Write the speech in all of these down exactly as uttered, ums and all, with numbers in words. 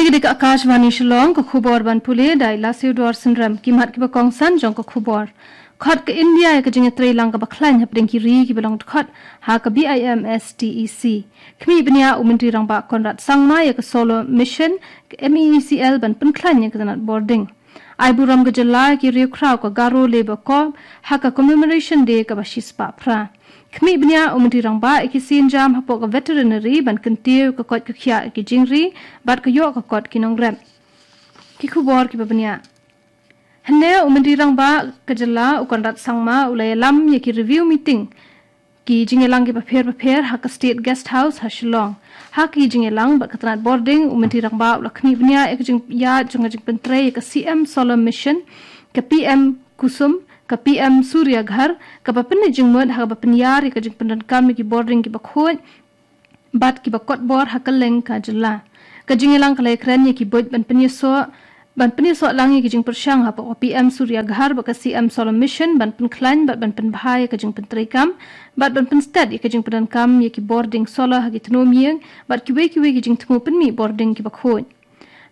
Ïa ka Akashvani Shillong, ka khubor ban pule da i Lasiu Duar Synrem. Ki mat kiba kongsan jong ka khubor. Khot ka India ïa ka jingïatreilang kaba khlaiñ hapdeng ki ri kiba long dkhot ha ka BIMSTEC. Khmih bniah u Myntri Rangbah Conrad Sangma ïa ka Solar Mission ka MeECL ban pynkhlaiñ ïa ka tnat bording. Ai burom ka jylla ïa ki riewkhraw ka Garo Labour Corps ha ka Commemoration Day kaba shispah phra. Khmih bniah u Myntri Rangbah ïa ki sienjam hapoh ka Veterinary ban kyntiew ka koit ka khiah ïa ki jingri bad ka ïoh ka kot ki nongrep. Ki khubor kiba bniah. Hynne u Myntri Rangbah ka jylla u Conrad Sangma u la ïalam ïa ki review meeting, ki jingïalang kiba pher bapher ha ka State Guest House ha Shillong. Ha ki jingïalang bad ka tnat bording, u Myntri Rangbah u la khmih bniah ïa ka jingïaid jong ka jingpyntrei ïa ka CM Solar Mission, ka PM Kusum, ka PM Surya Ghar, kaba pynleit jingmut ha kaba pynïar ïa ka jingpyndonkam ïa ki bording kiba khuid bad kiba kotbor ha kylleng ka jylla. Ka jingïalang ka la ïakren ïa ki buit ban pynïasoh, ban pynïasoh lang ïa ki jingpyrshang hapoh ka PM Surya Ghar bad ka CM Solar Mission ban pynkhlaiñ bad ban pynbha ïa ka jingpyntreikam bad ban pynsted ïa ka jingpyndonkam ïa ki bording solar ha ki thmu ïing bad kiwei kiwei ki jingthmu pynmih bording kiba khuid.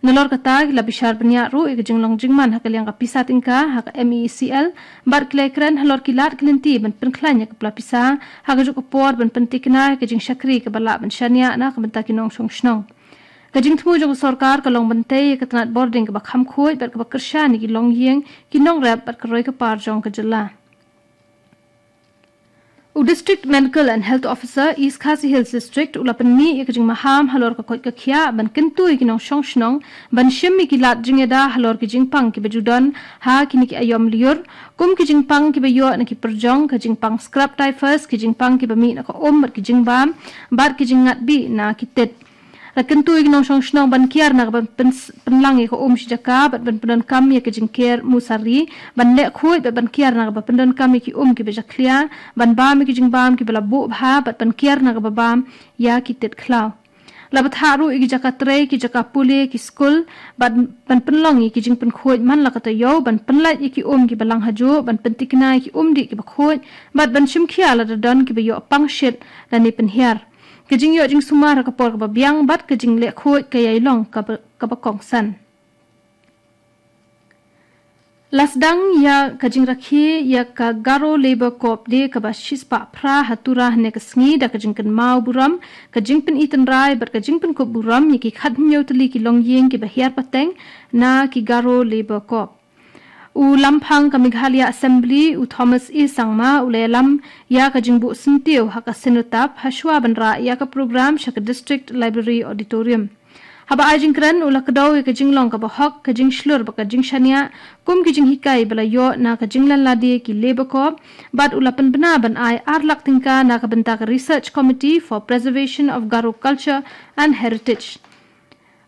Nalor kata, ki la bishar bniah ruh ïa ka jinglong jingman ha ka liang ka pisa tyngka ha ka MeECL bad ki la ïakren halor ki lad ki lynti ban pynkhlaiñ ïa ka pla pisa ha kajuh ka por ban pyntikna ïa ka jingshakri kaba lah ban shaniah na ka bynta ki nongshong shnong. Ka jingthmu jong ka sorkar ka long ban tei ïa ka tnat bording kaba kham khuid bad kaba kyrshan ïa ki longïing, ki nongrep bad ka roi ka par jong ka jylla. U District Medical and Health Officer, East Khasi Hills District, u la pynmih ïa ka jingmaham halor ka koit ka khiah ban kyntu ïa ki nongshong shnong ban shim ïa ki lad jingïada halor ki jingpang kiba ju don ha kine ki aïom lyiur, kum ki jingpang kiba ïoh na ki pyrjong, ka jingpang scrub typhus, ki jingpang kiba mih na ka um bad ki jingbam bad ki jingngat bih na ki tit. La kyntu ïa ki nongshong shnong ban kiar na kaba pyn-, pynlang ïa ka um shi jaka bad ban pyndonkam ïa ka jingker musari, ban leh khuid bad ban kiar na kaba pyndonkam ïa ki um kiba jakhlia, ban bam ïa ki jingbam kiba la buh bha bad ban kiar na kaba bam ïa ki tit khlaw. La bthah ruh ïa ki jaka trei, ki jaka pule, ki skul bad ban pynlong ïa ki jingpynkhuid man la ka taïew, ban pynlait ïa ki um kiba lang hajuh, ban pyntikna ïa ki um dih kiba khuid bad ban shim khia lada don kiba ïoh pang shit lane pynhiar. Ka jingïoh jingsumar ha ka por kaba biang bad ka jingleh khuid ka ïai long kaba, kaba kongsan. La sdang ïa ka jingrakhe ïa ka Garo Labour Corps Day kaba shispah phra ha Tura hynne ka sngi da ka jingkynmaw burom, ka jingpyni tynrai bad ka jingpynkup burom ïa ki khathynñiew tylli ki longïing kiba hiar pateng na ki Garo Labour Corps. U Lamphang ka Meghalaya Assembly, u Thomas A Sangma, u la ïalam ïa ka jingbuh syntiew ha ka Cenotaph, ha shuwa ban rah ïa ka program sha ka District Library Auditorium. Haba ai jingkren, u la kdew ïa ka jinglong kaba hok, ka jingshlur bad ka jingshaniah, kum ki jinghikai ba la ïoh na ka jinglan lade ki Labour Corps, bad u la pynbna ban ai ar lak tyngka na ka bynta ka Research Committee for Preservation of Garo Culture and Heritage.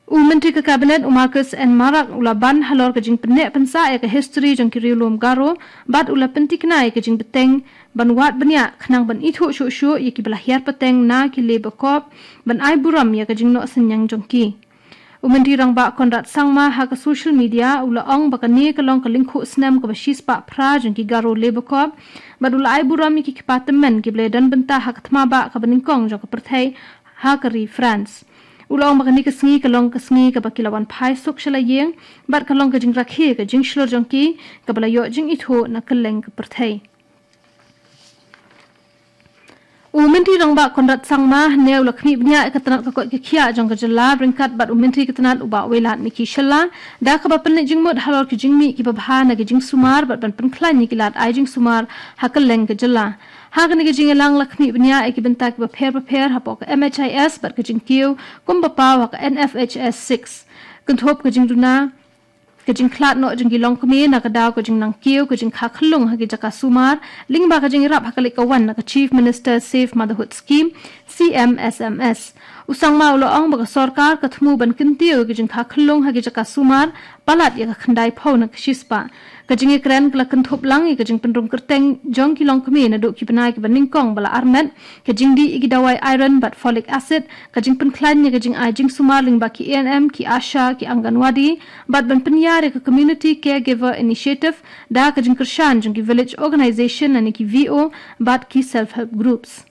U Myntri ka Cabinet, u Marcuise N Marak, u la ban halor ka jingpynneh pynsah ïa ka history jong ki riewlum Garo, bad u la pyntikna ïa ka jingbteng ban wad bniah khnang ban ithuh shuh shuh ïa kiba la hiar pateng na ki Labour Corps, ban ai burom ïa ka jingnoh synñiang jong ki. U Myntri Rangbah Conrad Sangma ha ka social media u la ong ba kane ka long ka lyngkhuh snem kaba shispah phra jong ki Garo Labour Corps, bad u la ai burom ïa ki kpa tymmen kiba la ïadon bynta ha ka thma bah kaba nyngkong jong ka pyrthei ha ka ri France. U la ong ba kane ka sngi ka long ka sngi kaba ki la wan phai suk sha la ïing, bad ka long ka jingrakhe ka jingshlur jong ki, kaba la ïoh jingithuh na kylleng ka pyrthei. U Myntri Rangbah Conrad Sangma, hynne u la khmih bniah ïa ka tnat ka koit ka khiah jong ka jylla, ryngkat bad u Myntri ka tnat u Bah Wailadmiki Shylla, da kaba pynleit jingmut halor ki jingmih kiba bha na ki jingsumar, bad ban pynkhlaiñ ïa ki lad ai jingsumar ha kylleng ka jylla. Ha kane ka jingïalang la khmih bniah ïa ki bynta kiba pher bapher hapoh ka MHIS bad ka jingkiew kumba paw ha ka NFHS six. Kynthup ka jingduna ka jingkhlad noh jong ki longkmie na ka daw ka jingnang kiew, ka jingkha khyllung ha ki jaka sumar, lyngba ka jingïarap ha ka leit ka wan na ka Chief Minister Safe Motherhood Scheme, CMSMS. U Sangma u la ong ba ka sorkar ka thmu ban kyntiew ïa ka jingkha khyllung ha ki jaka sumar, palat ïa ka khyndai phew na ka shispah. Ka jingïakren ka la kynthup lang ïa ka jingpynrung kyrteng jong ki longkmie naduh ki bnai kiba nyngkong ba la armet, ka jingdih ïa ki dawai iron bad folic acid, ka jingpynkhlaiñ ïa ka jingai jingsumar lyngba ki ANM, ki ASHA, ki Anganwadi, bad ban pynïar ïa ka Community Caregiver Initiative, da ka jingkyrshan jong ki village organization lane ki VO bad ki self help groups.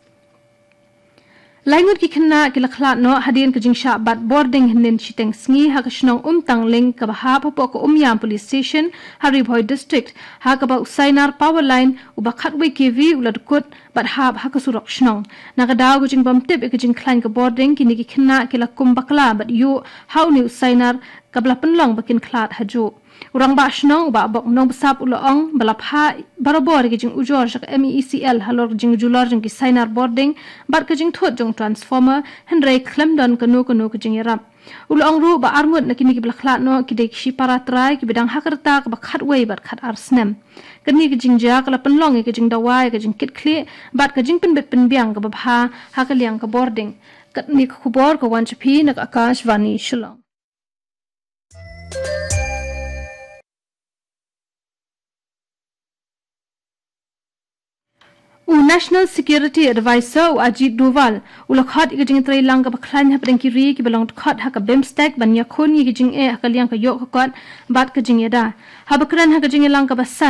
Lai ngut ki khynnah ki la khlad noh hadien ka jingshah bat bording hynnin shiteng sngi ha ka shnong Umtangling kaba hap hapoh ka Umiam Police Station ha Ri Bhoi District, ha kaba u sainar power line uba khatwei K V u la dkut bad hap ha ka surok shnong. Na ka daw ka jingbym tip ïa ka jingkhlaiñ ka bording, kine ki khynnah ki la kum bakla bad ïuh ha une u sainar kaba la pynlong ba kin khlad hajuh. U rangbah shnong u Bah Bok Nongbsap u la ong ba la phah barabor ïa ka jingujor sha ka M E E C L halor ka jingjulor jong ki sainar bording bad ka jingthut jong u transformer, hynrei khlem don kano kano ka jingïarap. U la ong ruh ba arngut na kine kiba la khlad noh ki dei ki shipara trai kiba dang ha ka rta kaba khatwei bad khatar snem. Kane ka jingjia ka la pynlong ïa ka jingdawa ïa ka jingkitkhlieh bad ka jingpynbit pynbiang kaba bha ha ka liang ka bording. Kane ka khubor ka wan sha phi na ka Akashvani Shillong. U National Security Advisor u Ajit Doval u la khot ïa ka jingtreilang kaba khlaiñ hapdeng ki ri kiba long dkhot ha ka BIMSTEC ban ïakhun ïa ka jingeh ha ka liang ka ïoh ka kot bad ka jingïada. Haba kren ha ka jingïalang kaba san